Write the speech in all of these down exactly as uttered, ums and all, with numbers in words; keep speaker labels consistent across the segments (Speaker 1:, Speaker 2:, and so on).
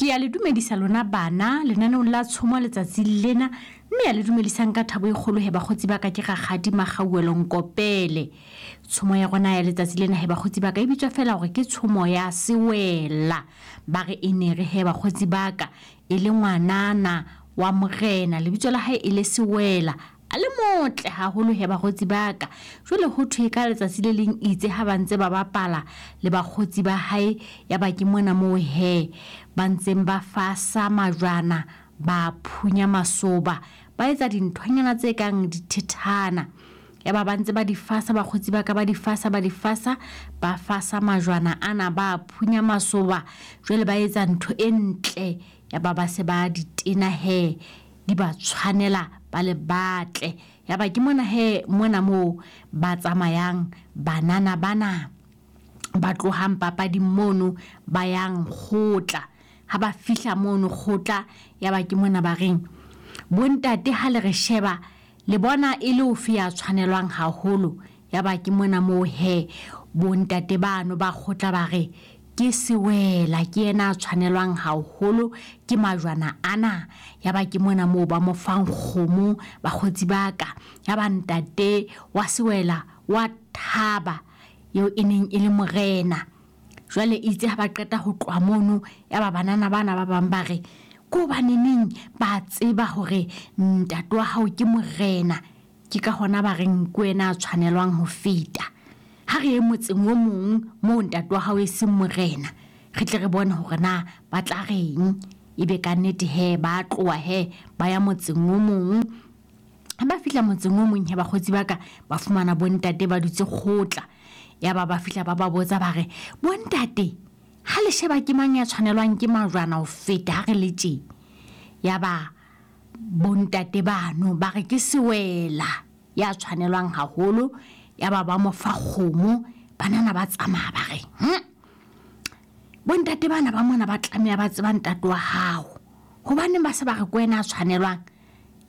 Speaker 1: Ke ya le dumedisa lona bana lenaneong la tshomo letsatsi lena, mme ya le dumedisang ka thabo e kgolo he bakgotsi ba ka ke Rakgadi Makgauwelo Nkopele. Tshomo ya rona ya letsatsi lena he bakgotsi ba ka e bitswa fela hore ke tshomo ya Sewela. Ba re e ne re he bakgotsi ba ka e le ngwanana wa morena, lebitso la hae e le Sewela, a le motle haholo he bakgotsi ba ka. Jwale ho thwe ka letsatsi le leng itse ha ba ntse ba bapala le bakgotsi ba hae, ya ba ke mona moo he ba ntseng ba fasa majwana, ba phunya masoba, ba etsa dinthonyana tse kang dithethana. Ya ba ba ntse ba di fasa bakgotsi ba ka, ba di fasa ba di fasa, ba fasa majwana ana, ba phunya masoba, jwale ba etsa ntho e ntle. Ya ba ba se ba di tena he, di ba tshwanela, ba le batle. Ya ba ke mona he mona moo ba tsamayang banana bana ba tlohang papading mono ba yang kgotla. Ha ba fihla mono kgotla, ya ba ke mona ba reng, bontate ha le re sheba le bona e le ofe ya tshwanelwang haholo. Ya ba ke mona moo he bontate bano ba kgotla ba re ke Sewela, ke yena a tshwanelwang haholo ke majwana ana. Ya ba ke mona moo ba mo fang kgomo bakgotsi ba ka. Ya ba ntate wa Sewela wa thaba, eo e neng e le morena. Jwale itse ha ba qeta ho tloha mono, ya ba banana bana ba bang ba re ko hobaneneng ba tseba hore ntate wa hao ke morena, ke ka hona ba reng ke wena a tshwanelwang ho feta. Ha re ye motseng o mong moo ntate wa hao e seng morena, re tle re bone hore na ba tla reng. Ebe ka nnete he ba tloha he ba ya motseng o mong. Ha ba fihla motseng o mong he bakgotsi ba ka ba fumana bontate ba dutse kgotla. Ya ba ba fihla ba ba botsa ba re, bontate ha le sheba ke mang ya tshwanelwang ke majwana ho feta ha re le tje? Ya ba bontate bano ba re ke Sewela ya tshwanelwang haholo. Ya ba ba mo fa kgomo, banana ba tsamaya ba re, hm, bontate bana ba mona ba tlameha ba tseba ntate wa hao, hobaneng ba se ba re ke wena a tshwanelwang?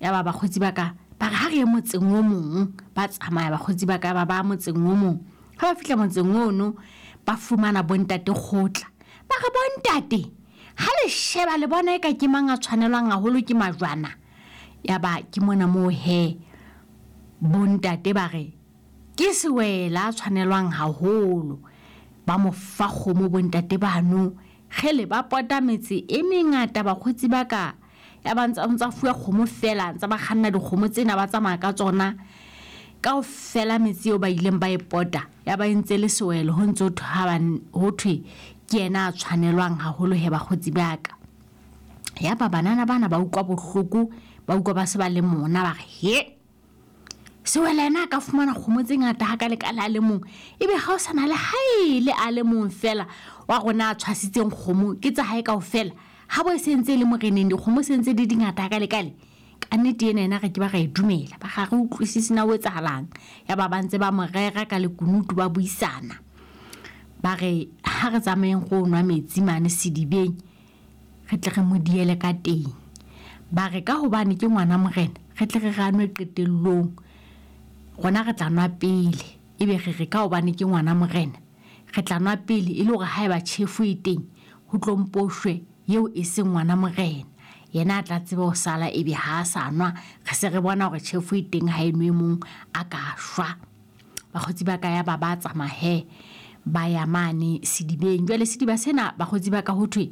Speaker 1: Ya ba bakgotsi ba ka ba re ha re ye motseng o mong. Ba tsamaya bakgotsi ba ka ba ba motseng o mong. Ha ba fihla motseng ono ba fumana bontate kgotla, ba re bontate ha le sheba le bona eka ke mang a tshwanelwang haholo ke majwana? Ya ba ke mona moo he bontate ba re ke Sewela a tshwanelwang haholo. Ba mo fa kgomo bontate bano. Kgele ba pota metse e mengata bakgotsi ba ka. Ya ba ntsa ntsa fuwa kgomo fela, ntsa ba kganna dikgomo tsena ba tsamaya ka tsona kaofela metse eo ba ileng ba e pota. Ya ba entse le Sewela ho ntso ho thwe ke yena a tshwanelwang haholo he bakgotsi ba ka. Ya ba banana bana ba utlwa bohloko, ba utlwa ba se ba le mona, ba re he Sewela yena a ka fumana kgomo tse ngata ha ka le ka le a le mong, ebe ha o sa na le hae le a le mong fela wa rona a tshwasitseng kgomo ke tsa hae kaofela. Ha bo e sentse le moreneng dikgomo sentse di dingata ha ka le ka le. Ka nnete ena ena re ke ba ra e dumela, ba ga re utlwisise na ho etsahalang. Ya ba ba ntse ba mo rera ka lekunutu ba buisana, ba re ha re tsamayeng go nwa metsi mane sedibeng, re tle re mo diele ka teng. Ba re ka hobane ke ngwana morena, re tle re ra nwe qetellong, rona re tla nwa pele. Ebe re re ka hobane ke ngwana morena, re tla nwa pele e le hore haeba tjhefo e teng ho tlo mposhwe eo e seng ngwana morena, yena a tla tseba ho sala. Ebe ha a sa nwa, re se re bona hore tjhefo e teng ha e nwe mong a ka shwa. Bakgotsi ba ka ya ba ba tsamaya he ba ya mane sedibeng. Jwale sediba sena bakgotsi ba ka ho thwe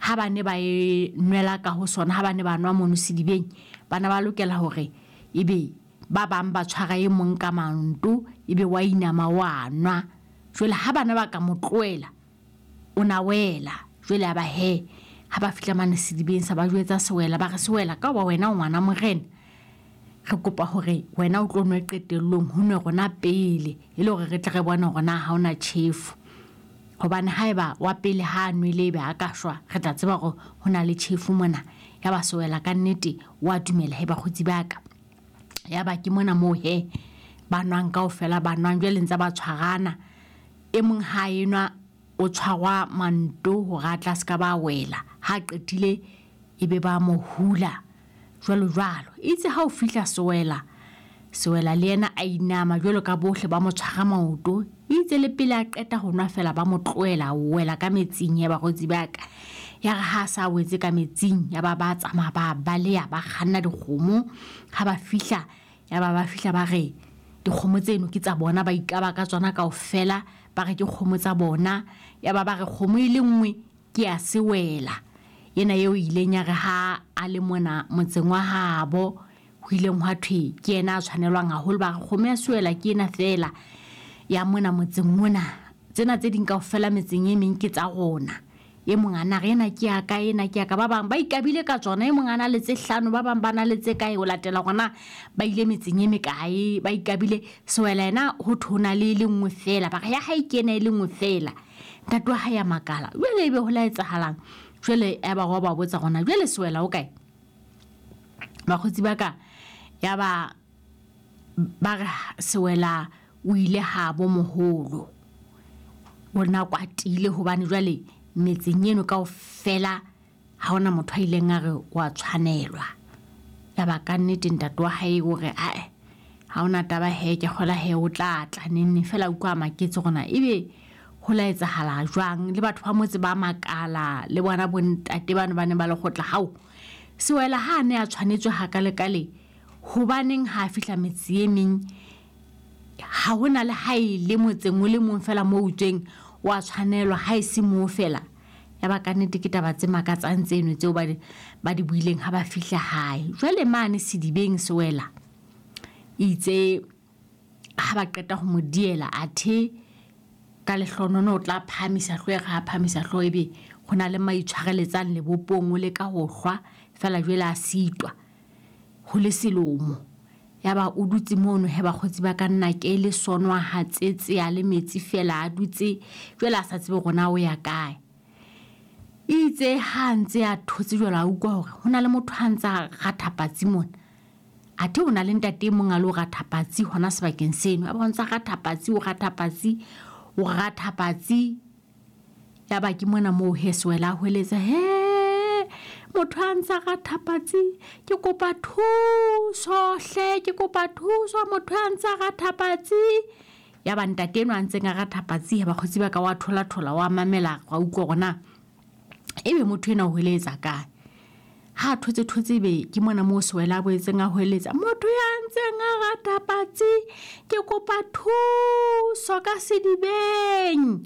Speaker 1: ha ba ne ba e nwela ka ho sona, ha ba ne ba nwa mono sedibeng, bana ba lokela hore ebe ba bang ba tshwara e mong ka manto, ebe wa inama wa nwa. Jwale ha bana ba ka mo tlohela o na wela. Jwale a ba he ha ba fihla mane sedibeng sa ba jwetsa Sewela, ba re Sewela ka hoba wena o ngwana morena, re kopa hore wena o tlo nwe qetellong, ho nwe rona pele, e le hore re tle re bone hore na ha ona tjhefo. Hobane haeba wa pele ha a nwele ebe a ka shwa, re tla tseba hore ho na le tjhefo mona. Ya ba Sewela ka nnete wa dumela he bakgotsi ba ka. Ya ba ke mona moo he ba nwang kaofela, ba nwang. Jwale ntse ba tshwarana, e mong ha enwa o tshwarwa manto hore a tla ska ba wela, ha qetile ebe ba mo hula jwalo jwalo. Itse ha o fihla Sewela, Sewela le yena a inama jwalo ka bohle, ba mo tshwara maoto. Itse le pele a qeta ho nwa fela ba mo tlohela, o wela ka metsing ya bakgotsi ba ka. Ya re ha sa wetse ka metsing, ya ba ba tsamaya ba baleha, ba kganna dikgomo. Ha ba fihla, ya ba ba fihla ba re dikgomo tseno ke tsa bona, ba ikaba ka tsona kaofela, ba re ke kgomo tsa bona. Ya ba ba re kgomo e le nngwe ke ya sewela, ena eo ileng ya re ha a le mona motseng wa habo, ho ileng hwa thwe ke yena a tshwanelwang haholo. Ba re kgomo ya sewela ke ena feela ya mona motseng mona, tsena tse ding kaofela metseng e meng ke tsa rona. E mong a na re ena ke ya ka, ena ke ya ka. Ba bang ba ikabile ka tsona, e mong a na le tse hlano, ba bang ba na le tse kae, ho latela hore ba ile metseng e mekae, ba ikabile. Sewela yena ho thwe ho na le e le nngwe feela, ba re ya hae ke ena e le nngwe feela. Ntate wa hae a makala, jwale ebe ho la etsahalang? Jwale ya ba wa ba botsa rona, jwale sewela o kae? Bakgotsi ba ka, ya ba ba re sewela o ile habo moholo, o na kwatile hobane jwale metseng eno kaofela ha hona motho a ileng a re wa tshwanelwa. Ya ba ka nnete ntate wa hae o re ae, ha hona taba he, ke kgola he o tla tla neng neng. Feela utlwa a maketse rona ebe ho la etsahala jwang, le batho ba motse ba makala, le bona bontate bano ba ne ba le kgotla. Hao sewela ha a ne a tshwanetswe hakalekale, hobaneng ha a fihla metse e meng ha hona le ha e le motseng o le mong feela moo utsweng wa tshwanelwa, ha e se moo feela. Ya ba ka nnete ke taba tse makatsang tseno tseo ba di, ba di buileng ha ba fihla hae. Jwale mane sedibeng sewela itse ha ba qeta ho mo diela, athe ka lehlonono o tla phahamisa hlooho, ha phahamisa hlooho ebe ho na le maitshwareletsang lebopong, o leka ho hlwa feela jwale a sitwa, ho le selomo. Ya ba o dutse mono he bakgotsi ba ka nna ke le sonwa ha tsetse a le metsi feela a dutse, jwale a sa tsebe hore na o ya kae. Itse ha ntse a thotse jwale a utlwa hore ho na le motho a ntse a ratha patsi mona. Athe ho na le ntate e mong a lo ratha patsi hona sebakeng seno. A ba ntse a ratha patsi, o ratha patsi, o ratha patsi. Ya ba ke mona moo he sewela a hweletsa, he motho a ntse a ratha patsi, ke kopa thuso hle, ke kopa thuso, motho a ntse a ratha patsi. Ya ba ntate enwa a ntseng a ratha patsi, bakgotsi ba ka wa thola thola, wa mamela, wa utlwa hore na ebe motho ena o hweletsa kae. Ha thotse thotse be ke mona moo sewela a boetseng a hweletsa, motho ya ntseng a ratha patsi, ke kopa thuso ka sedibeng.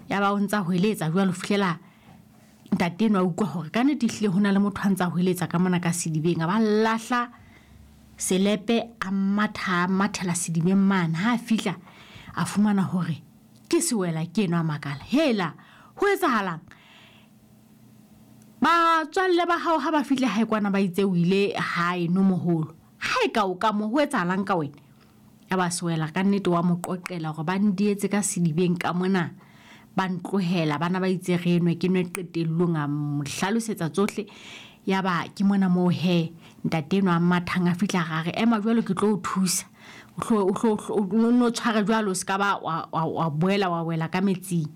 Speaker 1: Ya ba o ntsa hweletsa jwalo fihlela ntate enwa a utlwa hore ka nnete ehlile ho na le motho a ntsa hweletsa ka mona ka sedibeng. A ba lahla selepe, a matha, a mathela sedibeng mane. Ha a fihla a fumana hore ke sewela ke enwa, a makala, hela ho etsahalang? Batswalle ba hao ha ba fihle hae kwana ba itse o ile hae no moholo, hae ka o ka mo ho etsahalang ka wena? Ya ba sewela ka nnete wa mo qoqela hore ba ndietse ka sedibeng ka mona, ba ntlohela, bana ba itse re nwe ke nwe qetellong. A mo hlalosetsa tsohle. Ya ba ke mona moo he ntate enwa a mathang a fihla a re, ema jwalo ke tlo o thusa, o hlo o hlo o no tshware jwalo, o ska ba wa wa boela wa wela ka metsing.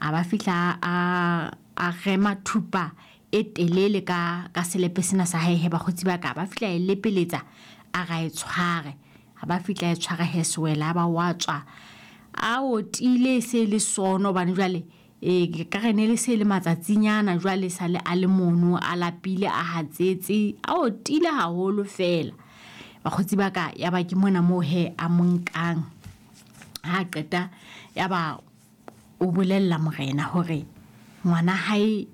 Speaker 1: A ba fihla a a rema thupa e telele ka ka selepe sena sa hae he bakgotsi ba ka, ba fihla e lepeletsa a ra e tshware. A ba fihla e tshware he sewela, ba wa tswa a otile se le sono, hobane jwale e ka re ne le se le matsatsinyana jwale sa le a le mono, a lapile, a hatsetse, a otile haholo feela. Bakgotsi ba ka, ya ba ke mona moo he a mo nkang. Ha qeta ya ba o bolella morena hore ngwana hae,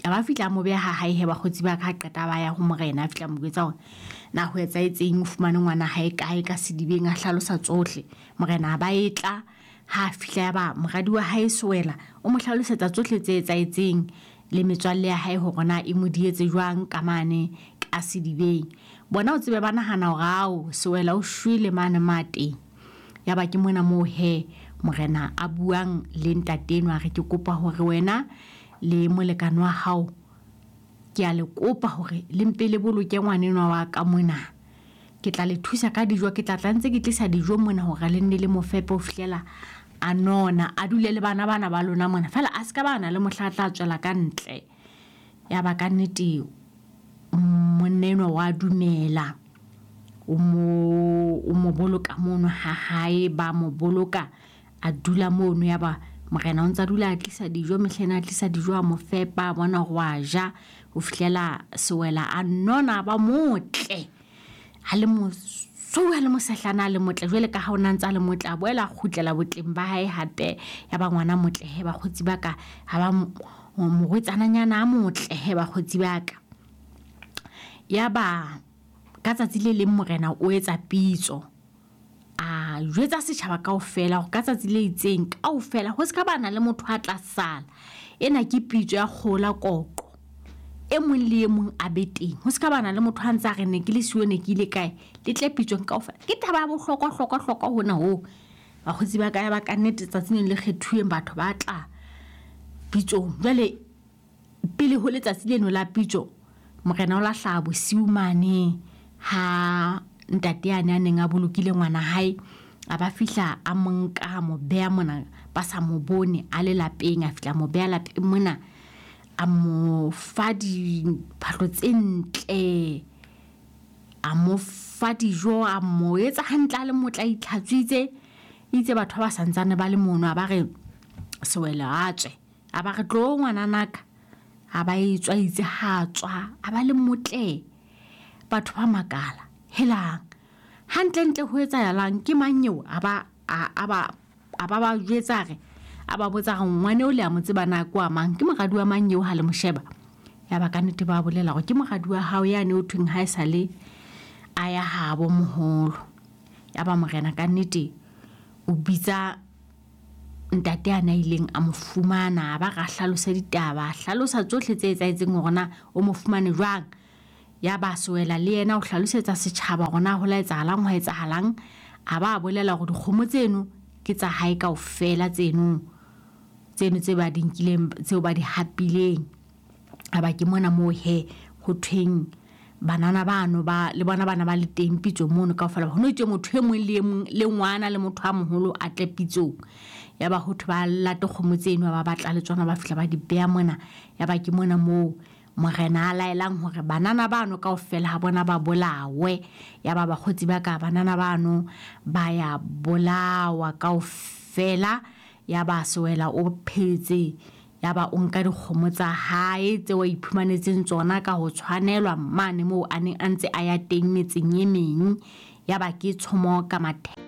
Speaker 1: a ba fihla mo beha hae he bakgotsi ba ka. Ha qeta ba ya ho morena, a fihla mo jwetsa hore na ho etsahetseng, o fumane ngwana hae kae ka sedibeng, a hlalosa tsohle. Morena a ba e tla, ha fihla ya ba moradi wa hae sewela o mo hlalosetsa tsohle tse etsahetseng le metswalle ya hae hore na e mo dietse jwang ka mane ka sedibeng. Bona o tsebe ba nahana hore ao sewela o shwele mane mateng. Ya ba ke mona moo he morena a buang le ntate enwa, a re ke kopa hore wena le molekane wa hao, ke a le kopa hore le mpe le boloke ngwanenwa wa ka mona. Ke tla le thusa ka dijo, ke tla tla ntse ke tlisa dijo mona hore le nne le mo fepe ho fihlela a nona, a dule le bana bana ba lona mona, feela a ska ba na le mohla a tla tswela ka ntle. Ya ba ka nnete monna enwa wa dumela, o mo o mo boloka mono ha hae, ba mo boloka a dula mono. Ya ba Morena o ntsa dula a tlisa dijo mehlena, a tlisa dijo a mo fepa, a bona hore wa ja ho fihlela Sewela a nona ba motle. Ha le mosweu ha le mosehlana a le motle, jwale ka ha o na ntsa le motle, a boela a kgutlela botleng ba hae hape. Ya ba ngwana motle he bakgotsi ba ka, ha ba morwetsananyana a motle he bakgotsi ba ka. Ya ba ka tsatsi le leng morena o etsa pitso, a jwetsa setjhaba kaofela hore ka tsatsi le itseng kaofela ho se ka bana le motho a tla sala. Ena ke pitso ya kgola koqo, e mong le e mong a be teng, ho se ka bana le motho a ntse a re ne ke le siyo ne ke ile kae, le tle pitsong kaofela. Ke taba ya bohlokwa hlokwa hlokwa hona hoo bakgotsi ba ka. Ya ba ka nnete tsatsing le kgethuweng batho ba tla pitsong. Jwale pele ho letsatsi leno la pitso, morena o la hlaha bosiu mane ha ntate yane a neng a bolokile ngwana hae, a ba fihla a mo nka a mo beha mona ba sa mo bone a le lapeng, a fihla mo beha lapeng mona, a mo fa diphahlo tse ntle, a mo fa dijo, a mo etsa hantle a le motle, a itlhatswitse. Itse batho ba santsane ba le mono, a ba re Sewela a tswe, a ba re tlo ngwananaka, a ba etswa itse ha tswa, a ba le motle. Batho ba makala, helang hantlentle ho etsahalang, ke mang eo? A ba a ba a ba ba jwetsa re, a ba botsa re ngwane o le a mo tseba na ke wa mang, ke moradi wa mang eo ha le mo sheba. Ya ba ka nnete ba bolela hore ke moradi wa hao yane o thweng ha e sale a ya habo moholo. Ya ba morena ka nnete o bitsa ntate a na ileng a mo fumana, a ba ra hlalosa ditaba, a hlalosa tsohle tse etsahetseng hore na o mo fumane jwang. Ya ba Sewela le yena o hlalosetsa setjhaba hore na ho la etsahalang, ho etsahalang. A ba bolela hore dikgomo tseno ke tsa hae kaofela, tseno tseno tse ba di nkileng, tseo ba di hapileng. A ba ke mona moo he ho thweng banana bano ba le bona bana ba le teng pitsong mono kaofela. Ho no itswe motho e mong le e mong le ngwana le motho a moholo a tle pitsong. Ya ba ho thwe ba late kgomo tseno, ba batla le tsona, ba fihla ba di beha mona. Ya ba ke mona moo morena a laelang hore banana bano kaofela ha bona ba bolawe. Ya ba bakgotsi ba ka banana bano ba ya bolawa kaofela. Ya ba Sewela o phetse, ya ba o nka dikgomo tsa hae tseo a iphumanetseng tsona ka ho tshwanelwa mane moo a neng a ntse a ya teng metseng e meng. Ya ba ke tshomo ka mathe.